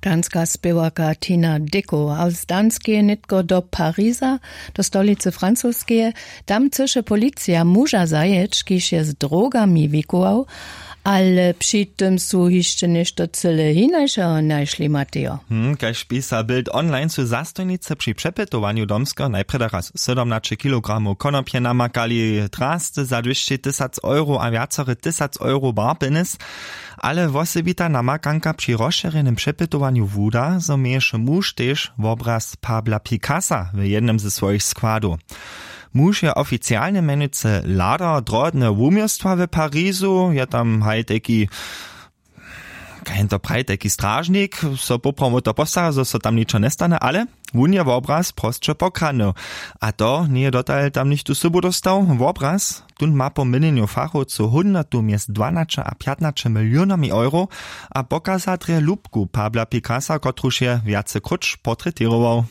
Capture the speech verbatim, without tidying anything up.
Danska spěwarka Tina Dicko a z Danskeje nětko do Pariza, do stolicy Francoskeje. Tam chcyše policija muža zajěć, kiž je z drogami wikował. Ale při tym su hišće něšto cyle hinašeho našli, Matejo. Hm, kaž pisa Bild Online, su zastojnicy při přepytowanju Domskeho najprjedy raz sydomnaće kilogramow konopje namakali, drasty za dwěsći tysac euro a wjacore tysac euro barpinys. Ale wosebita namakanka při rozšěrjenym přepytowanju wuda, zo měješe muž tež wobraz Pabla Picassa w jednym ze swojich składow. Muž je oficialnje mjenujcy ladar drodneho wuměłstwa w Parizu, je tam haj tajki, kaž jen to praji, tajki stražnik, so poprawom wo to postara, zo so tam ničo njestane, ale wón je wobraz prosće pokradnył. A to njeje dotal tam nichtó sobu dóstał. Wobraz tón ma po měnjenju fachowcow hódnotu mjez dwanaće a pjatnaće milionami euro a pokaza drje lubku Pabla Picassa, kotruž je wjace króć portretěrował.